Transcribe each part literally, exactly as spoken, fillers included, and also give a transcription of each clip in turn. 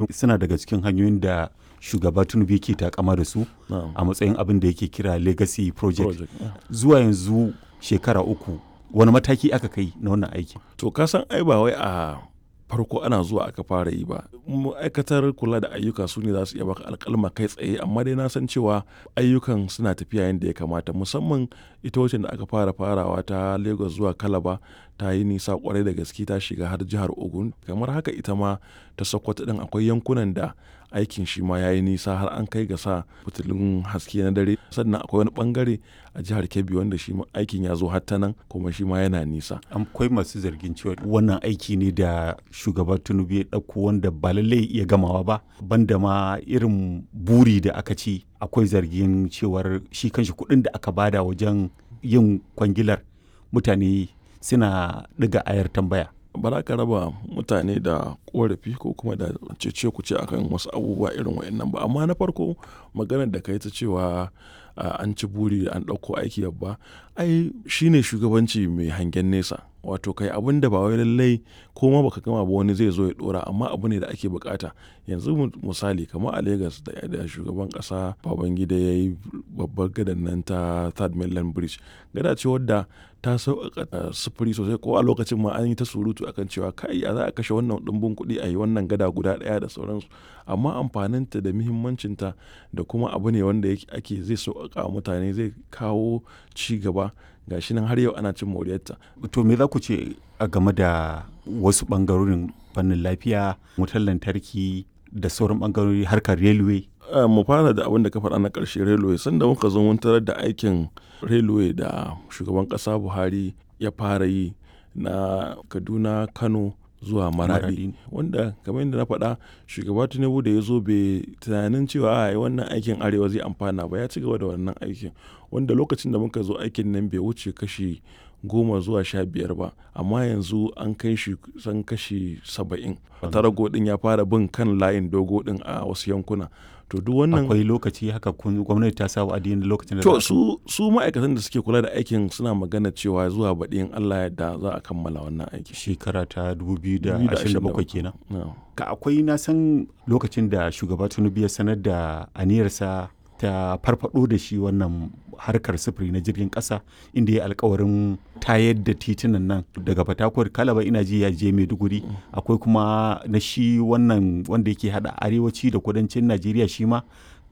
Suna daga cikin hanyoyin da shugaba Tinubu yake takama da su Na'am. a matsayin abin da yake kira legacy project. Project, yeah. Zuwa yanzu shekara uku wani mataki aka kai na wannan aikin? To ka san ai ba wai a farko ana zuwa aka fara yi ba. Ma'aikatar kula da ayyuka su ne za su iya baka alƙalma kai tsaye, amma dai na san cewa ayyukan suna tafiya yadda ya kamata, musamman ita wacce da aka fara farawa ta Lagos zuwa Calabar ta yi nisa kwarai da gaske, ta shiga har jihar Ogun. Kamar haka ita ma ta Sokoto din akwai yankunan da aikin shi ma ya yi nisa har an kai ga sa fitilun haske na dare. Sannan akwai wani bangare a jihar Kebbi wanda shi ma aikin ya zo har ta nan kuma shi ma yana nisa. Akwai masu zargin cewa wannan aiki ne da shugaba Tinubu ya ɗauko wanda ba lallai ya iya gamawa ba, banda ma irin buri da aka ci. Akwai zargin cewar shi kanshi kuɗin da aka bada wajen yin kwangilar mutane suna ɗiga ayar tambaya. Ba za ka raba mutane da korafi ko kuma da cece-kuce akan wasu abubuwa irin waɗannan ba. Amma na farko, maganar da ka yi ta cewa an ci buri an ɗauko aiki babba, ai shine shugabanci mai hangen nesa. Wato kai abun da ba wai lallai ko ma baka gama ba wani zai zo ya ɗora, amma abu ne da ake bukata. Yanzu misali kamar a Lagos da shugaban ƙasa Babangida ya yi babbar gadan nan ta Third Mainland Bridge. Gada ce wadda ta sauƙaƙa sufuri sosai, ko a lokacin ma an yi ta surutu akan cewa kai ya za a kashe wannan ɗumbin kuɗi a yi wannan gada guda ɗaya da sauransu. Amma amfaninta da muhimmancinta da kuma abu ne wanda ake zai sauƙaƙa wa mutane, zai kawo ci gaba. Ga shi nan har yau ana cin moriyarta. To me za ku ce a game da wasu ɓangarorin fannin lafiya, wutar lantarki da sauran ɓangarori, harkar railway? Mu fara da abin da ka faɗa na ƙarshe, railway. Sanda muka zo mun tarar da aikin railway da shugaban ƙasa Buhari ya fara yi na Kaduna, Kano zuwa Maradi. Wanda kamar yadda na faɗa, shugaba Tinubu da ya zo bai tunanin cewa ai wannan aikin Arewa zai amfana ba, ya ci gaba da wannan aikin. Wanda lokacin da muka zo aikin nan bai wuce kashi goma zuwa sha biyar ba, amma yanzu an kai shi kusan kashi saba'in. Tarago ɗin ya fara bin kan layin dogo ɗin a wasu yankuna. To duk wannan Akwai lokaci haka kun gwamnati ta sa wa'adi na lokacin da To za a su, su ma'aikatan da suke kula da aikin suna magana cewa zuwa baɗi in Allah ya yarda za a kammala wannan aiki. Shekara ta dubu biyu da ashirin da bakwai kenan. Na'am. Ka akwai na san lokacin da shugaba Tinubu ya sanar da aniyarsa ta farfado da shi wannan harkar sufuri na jirgin ƙasa, inda ya alkawarin tayar da titunan nan daga Fatakwal Kalaba ina ji ya je Maiduguri. Akwai kuma na shi wannan wanda yake hada arewaci da kudancin Najeriya, shi ma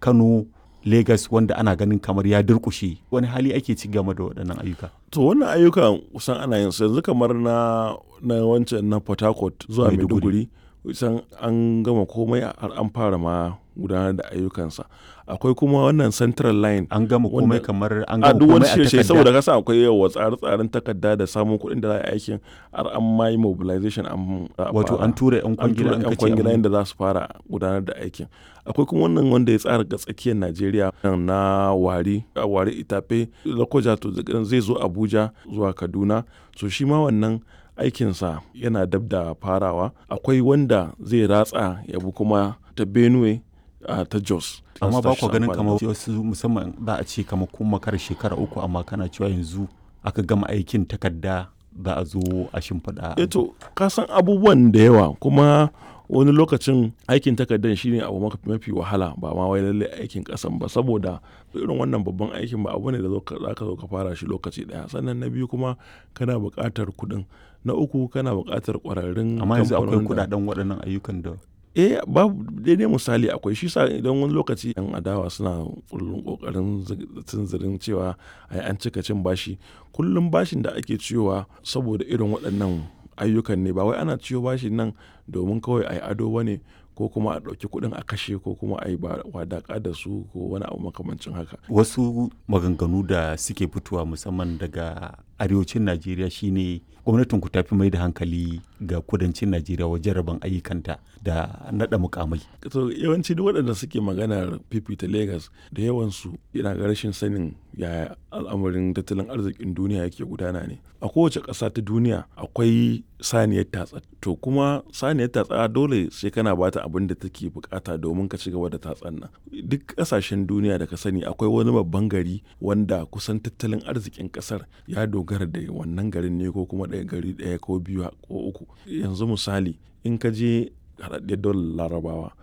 Kano Lagos, wanda ana ganin kamar ya durƙushe. Wani hali ake ci game da waɗannan ayyuka? To wannan ayyukan kusan ana yin su yanzu, kamar na na wancan na Port Harcourt zuwa Maiduguri. Maiduguri, kusan an gama komai har an fara ma gudanar da ayyukansa. Akwai kuma wannan Central Line. An gama komai Wanda- kamar an a gama duk wani komai a shirye takarda? Saboda kasa akwai yawa tsare-tsaren takarda da samun kuɗin da za a yi aikin, har an ma yi mobilization an za a Wato fara. an tura 'yan An kwangila, tura an 'yan kace kwangila an yadda za su fara gudanar da aikin. Akwai kuma wannan wanda ya tsara ga tsakiyar Najeriya na Wari, a Wari Itafe, Lokoja, to zai zo Abuja zuwa Kaduna. So shi ma wannan aikinsa yana dab da farawa. Akwai wanda zai ratsa ya bi kuma ta Benue, a ta Jos. Amma ba ku ganin Amfani. kamar wasu, musamman za a ce kamar kun makara shekara uku amma kana cewa yanzu aka gama aikin takarda, za a zo a shimfiɗa? Eh to ka san abubuwan da yawa, kuma wani lokacin aikin takardar shine abu maka- mafi wahala, ba ma wai lallai aikin kasan ba, saboda irin wannan babban aikin ba abu ne da za ka zo ka fara shi lokaci daya. Sannan na biyu kuma kana buƙatar kuɗin, na uku kana buƙatar ƙwararrun Amma yanzu akwai kamfanonin da- kuɗaɗen waɗannan ayyukan da Eh, babu daidai misali akwai shi sa idan wani lokaci yan adawa suna kullum kokarin tunzirin cewa ai an cika cin bashi. Kullum bashin da ake ciyowa saboda irin waɗannan ayyukan ne, ba wai ana ciyo bashin nan domin kawai ai ado bane, ko kuma a ɗauki kuɗin a kashe, ko kuma a yi wadaƙa da su, ko wani abu makamancin haka. Wasu maganganu da suke fitowa musamman daga arewacin Najeriya shine gwamnatin ku tafi mai da hankali ga kudancin Najeriya wajen rabon ayyukanta da naɗa mukamai. To yawanci duk waɗanda suke maganar fifita Lagos, da yawansu yana ga rashin sanin yaya al'amarin tattalin arzikin duniya yake gudana ne. A kowace ƙasa ta duniya akwai saniyar tatsa. To kuma saniyar tatsa dole sai kana bata abin da take bukata domin ka ci gaba da tatsan nan. Duk ƙasashen duniya da ka sani akwai wani babban gari wanda kusan tattalin arzikin ƙasar ya dogara da wannan garin ne, ko kuma ɗaya gari ɗaya ko biyu ko uku. Yanzu misali in ka je Haɗaɗɗiyar Daular Larabawa